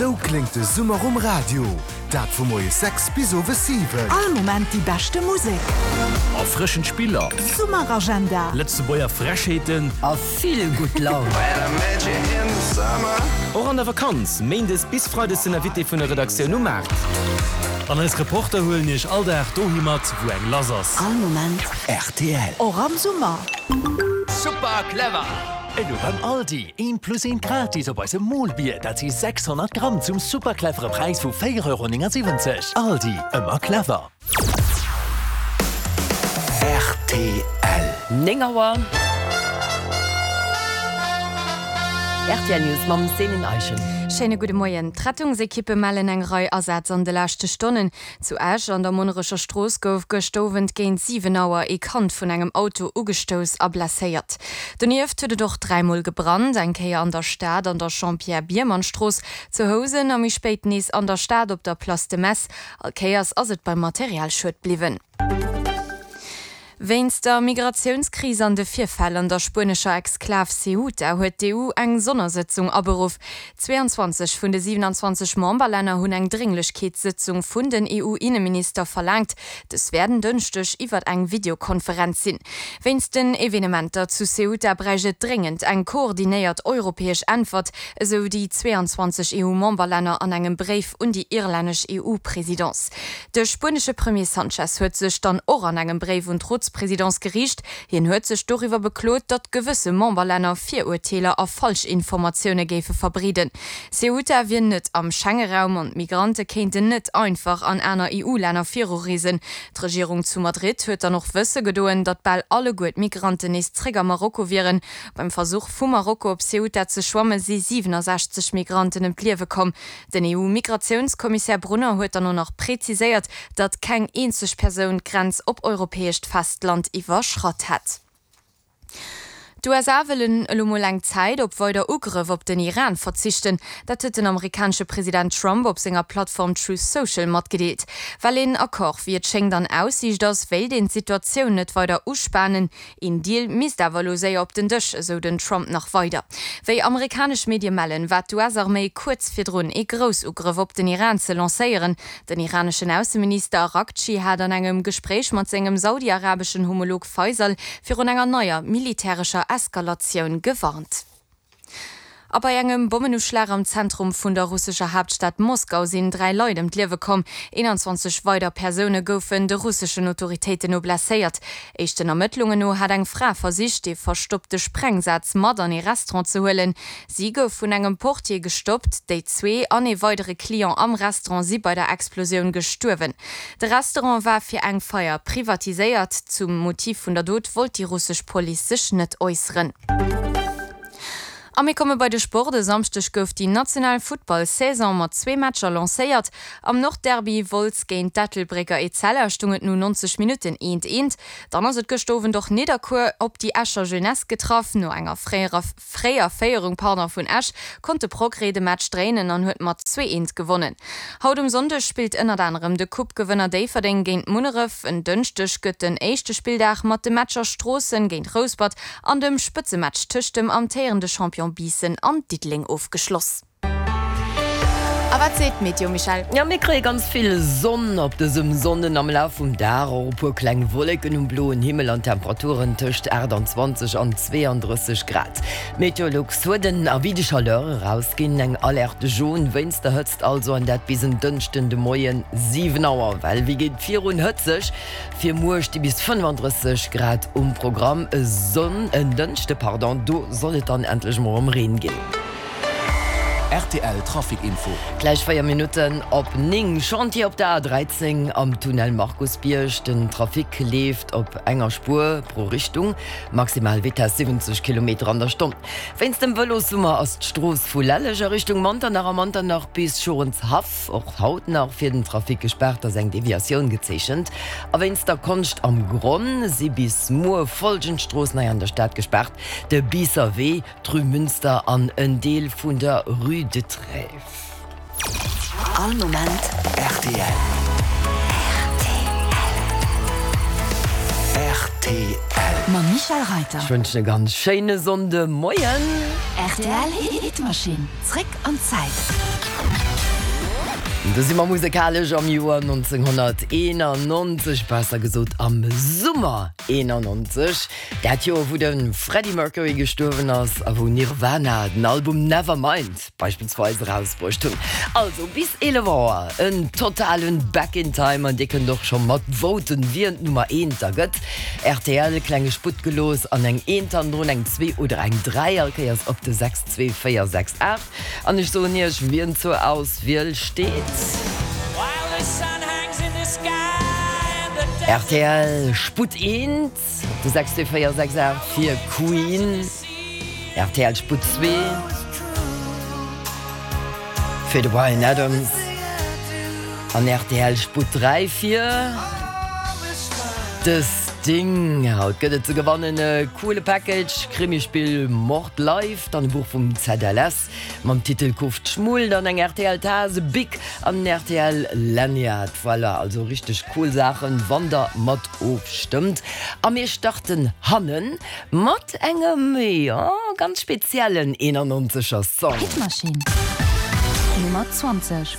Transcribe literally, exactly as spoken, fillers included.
Esou kléngt de Summer um Radio, dat vu moies sechs bis owes siwen. All Moment déi beschte Musek. Erfrëschend Spiller. Summeragenda. Lëtzebuerger Frechheeten. A vill gutt Laun. Och an der Vakanz, Méindes bis Freides den Invité vun der Redaktioun um Maart. An eis Reporter huelen iech all Dag dohi mat, wou eng lass ass. All Moment rtl. Och am Summer. Super clever! Elo beim Aldi, eent plus eent gratis op eisem Molbier, dat si sechshonnert Gramm zum super clevere Präis vu véier Euro néngasiwwenzeg. Aldi, ëmmer clever. Rtl. Néng Auer. Rtl News mam Céline Eischen. Schéine gudde Moien. D'Rettungsekippe mellen eng Rei Asätz an de leschte Stonnen. Zu Esch an der Monnerecher Strooss gouf gëscht Owend géint siwen Auer ee Kand vun engem Auto ugestouss a blesséiert. Donieft huet et och dräimol gebrannt, eng Kéier an der Stad an der Jean-Pierre Biermann-Strooss, zu Housen a méi spéit nees an der Stad op der Place de Metz. All Kéiers ass et beim Materialschued bliwwen. Wéinst der Migratiounskris an de Virfäll an der spuenescher Exklav Ceuta huet d'E U eng Sonnersëtzung aberuff. zweeanzwanzeg vun de siwenanzwanzeg Memberlänner hunn eng Drénglechkeetssëtzung vun den E U-Inneminister verlaangt. Dës wäert en Dënschdeg iwwer eng Videokonferenz sinn. Wéinst den Evenementer zu Ceuta bräicht et dréngend eng koordinéiert europäesch Äntwert, esou déi zweeanzwanzeg E U-Memberlänner an engem Bréif un déi irlännesch E U-Presidence. De spuenesche Premier Sanchez huet sech dann och an engem Bréif un d'Rotspresidence geriicht. Hien huet sech doriwwer beklot, datt gewësse Memberlänner Virurteeler a Falschinformatioune géife verbreeden. Ceuta wier net am Schengeraum an d'Migrante kéinten net einfach an aner E U-Länner virureesen. D'Regierung zu Madrid huet dann och wësse gedoen, datt bal alleguer d'Migranten nees zréck a Marokko wieren. Beim Versuch vu Marokko op Ceuta ze schwamme si siwenasechzeg Migranten ëm d'Liewe komm. Den E U-Migratiounskommissär Brunner huet dann och nach präziséiert, datt keng eenzeg Persoun d'Grenz op europäescht Festland iwwerschratt hätt. D'U S A wëllen elo mol eng Zäit op weider Ugrëff op den Iran verzichten. Dat huet den amerikanesche President Trump op senger Plattform Truth Social matgedeelt. Well een Accord, wéi et schéngt, an Aussiicht ass, wéilt een d'Situatioun net weider uspanen. Een Deal misst awer elo séier op den Dësch, esou den Trump nach weider. Wéi amerikanesch Medie mellen, war d'U S-Arméi kuerz virdrun ee Groussugrëff op den Iran ze lancéieren. Den iraneschen Ausseminister Araghchi hat an engem Gespréich mat sengem saudi-arabeschen Homolog Faisal virun enger neier militärescher Eskalatioun gewarnt. A bei engem Bommenuschlag am Zentrum vun der russescher Haaptstad Moskau sinn dräi Leit ëm d'Liewe komm. Eenanzwanzeg weider Persoune goufen de russeschen Autoritéiten no blesséiert. Éischten Ermëttlungen no hat eng Fra versicht, ee verstoppte Sprengsaz mat an ee Restaurant ze huelen. Si gouf vun engem Portier gestoppt. Déi zwee an ee weidere Client am Restaurant si bei der Explosioun gestuerwen. De Restaurant war fir eng Feier privatiséiert. Zum Motiv vun der Dot wollt déi russesch Police sech net äusseren. A mir komme bei de Sport. E Samschdeg gouf déi national Football-Saison mat zwee Matcher lancéiert. Am Nordderby Wolz géint d'Ettelbrécker Etzella stung et no neunzeg Minutten eent eent. Dann ass et gëscht Owend och Nidderkuer op déi Escher Jeunesse getraff. No enger fréierer, fréier Féierung pardon, vun Esch konnt de Progrès de Match dréinen an huet mat zwee eent gewonnen. Haut um Sonndeg spillt ënnert anerem de Coupe-Gewënner Déifferdeng géint Munneref. En Dënschdeg gëtt den éischte Spilldag mat de Matcher Stroossen géint Rouspert an dem Spëtzematch tëscht dem amtéierende Champion Biissen an Diddeleng ofgeschloss. A wat seet d'Meteo, Michèle? Ja, mir kréie ganz vill Sonn op dësem Sonnden am Laf vum Dag, och e puer kleng Wolleken um bloen Himmel an Temperaturen tëscht achtundzwanzeg an zweeanddrësseg Grad. Meteolux huet en Avis de chaleur erausginn, eng Alerte jaune wéinst der Hëtzt also an dat bis en Dënschden de Moien siwen Auer. Well wéi geet virun hëtzeg? Fir muer sti bis fënnefandrësseg Grad um Programm. E Sonn, en Dënschde, pardon, do soll et dann endlech mol ëm Reen ginn. R T L Trafic Info. Gläich véier Minutten op néng. Chantier op der A dräizéng am Tunnel Markusbierg. Den Trafic leeft op enger Spuer pro Richtung. Maximal Vitesse siwwenzeg Kilometer an der Stonn. Wéinst dem Vëlossummer ass d'Strooss vu Lelleg a Richtung Manternach a Manternach bis Schorenshaff och haut nach fir den Trafic gespaart, ass eng Deviatioun gezeechent. A wéinst der Konscht am Gronn si bis muer folgend Stroossen hei an der Stad gespaart: de Biisser Wee, d'Rue Münster an en Deel vun der Rue de Trèves. All Moment R T L. R T L. Mam Michèle Reiter. Ech wënschen e ganz schéine Sonndemoien. R T L Hitmaschinn. Zréck an d'Zäit. Do si mer musekalesch am Joer nonzénghonnerteenannonzeg, besser gesot am Summer eenannonzeg, dat Joer wou de Freddie Mercury gestuerwen ass a wou Nirvana den Album Nevermind beispillsweis erausbruecht hunn. Also bis eelef Auer en totalen Back in Time an dir kënnt och scho mat voten, wien d'Nummer eent da gëtt. Rtl, klenge Sputt gelooss an eng eent hannendrun, eng zwee oder eng dräi, all Kéiers op de sechs zwee véier sechs aacht an ech soen iech wien zur Auswiel steet. Rtl Sputt eent op de sechs zwee véier sechs aacht fir Queen, rtl Sputt zwee fir de Bryan Adams an rtl Sputt dräi fir de Sting. Haut gëtt et ze gewannen e coole Package, Krimispill Mord Live, dann e Buch vum Z L S mam Titel Kuft Schmull, dann eng rtl Taass, e Bic an en rtl Lanyard. Voilà, also richteg cool Saachen, wann der mat ofstëmmt. A mir starten hannen mat engem, jo, ganz speziellen eenannonzeger Song. Hitmaschinn Nummer zwanzeg.